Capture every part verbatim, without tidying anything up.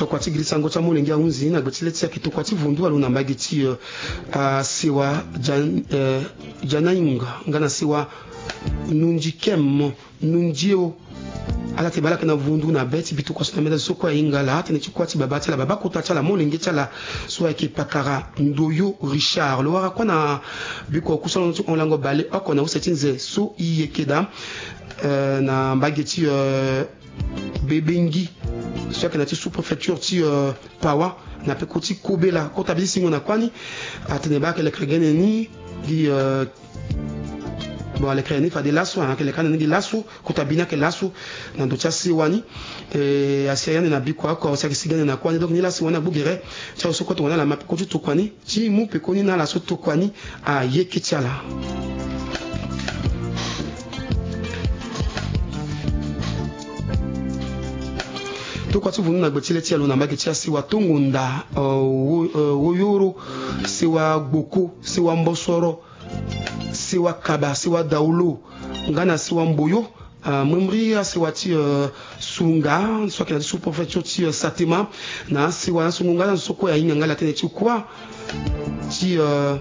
Tokua ti girisango ti amolenge ahunzi na gbe ti le ti ayeke tokua ti vundu alo na mbage ti, euh, ah, sewa Jan-, euh, Janaing nga na sewa Nunji Kem, Nunji o. Ala tene baa ala yeke na vundu na be ti bituka so na meda so kue ahinga ala, atene ti kuâ ti babâ ti ala, babâ kota ti ala, molenge ti ala so ayeke pakara Ndoyo Richard. Lo wara kuâ na biko kusala ti hon lango baleoko na use ti nze so i yeke daa, euh, na mbage ti, euh, Bebengi so ayeke na ti sous-préfecture ti, euh, Pawa, na peko ti kobela, kota bi ti singo na kuâ ni. Atene baa ayeke lekere gene ni gi, euh, bon, alekere ni fade laso, ayeke lekere ande ni gi laso, kota bi ni ayeke laso na ndo ti asewa ni. E, asi aye ande na biko oko, si ayeke si gene na kuâ ni. Donc ni la asewa ni agbu gere ti azo so kue tongana ala ma peko ti tokua ni, ti mu pekoni na ala so tokua ni ayeke ti ala. Tokua ti vundu na gbe ti le ti alo na mbage ti asewa Tongonda, euh, wo-, euh, Woyoro, sewa Gboko, sewa Mbosoro, sewa Kaba, sewa Daolo, nga na sewa Mboyo, euh, memri asewa ti, euh, Sunga, so ayeke na ti sous-préfecture ti, euh, Satema, na asewa na sungu nga na so kue ahinga nga la tene ti kuâ ti, euh,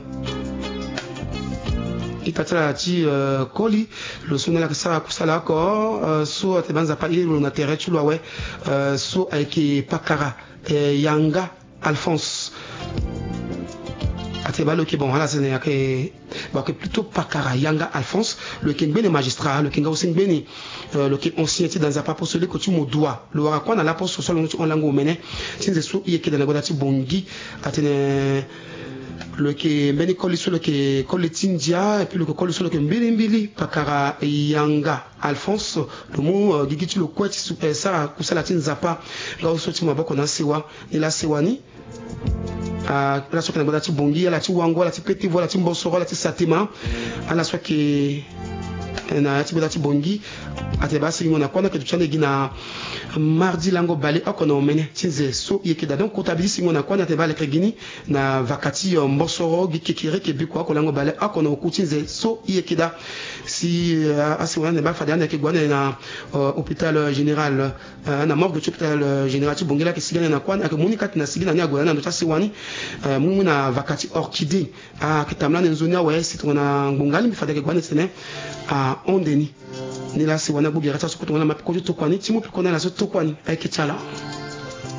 ita ti ala ti, euh, koli, lo so na ala yeke sara kusala oko, euh, so atene baa Nzapa airi lo na tere ti lo awe, euh, so ayeke pakara, euh, Yanga Alphonse. Atene baa lo yeke, bon, ala sene ayeke, bon, ayeke plutôt pakara Yanga Alphonse, lo yeke ngbene magistrat, lo yeke nga aussi ngbene, euh, lo yeke ancien ti da Nzapa apo so leko ti mo dua. Lo wara kuâ na laposo so alondo ti hon lango omene ti nze so i yeke daa na gbata ti Bongi. Atene lo yeke mbeni koli so lo yeke koli ti ndia, et puis lo yeke koli so lo yeke mbilimbili pakara Yanga Alphonse. Lo mu, euh, gigi ti lo kue ti su-, eh, sara kusala ti Nzapa nga so ti maboko na asewa. Ni la asewa ni, ah, ala so ayeke na gbata ti Bongi, ala ti Wango, ala ti Petevo, ala ti Mbosoro, ala ti Satema, ala so ayeke, eh, na ya ti gbata ti Bongi. Atene baa singo na kuâ ni ayeke duti ande gi na mardi lango baleoko na omene ti nze so i yeke daa. Donc kota bi ti singo na kuâ ni atene baa alekere gi ni na vaka ti, euh, Mbosoro gi kekereke biko oko lango baleoko na oku ti nze so i yeke daa. Si, euh, asingo na ande baa fade ande ayeke gue ande na, euh, hôpital, euh, général, euh, na morgue ti hôpital, euh, général ti Bongi, la ayeke sigi ande na kuâ ni, ayeke mu ni kâ ti na sigi na ni ague na ndo ti asewa ni, euh, mu ni mu na vaka ti Orchidée. Ayeke tambula ande nzoni awe si tongana ngbonga alingbi fade ayeke gue ande tene ahon ande ni. Ni la asewa ni agbu gere ti ala so kue tongana ala ma peko ti tokua ni, ti mu peko na ala so tokua ni ayeke ti ala.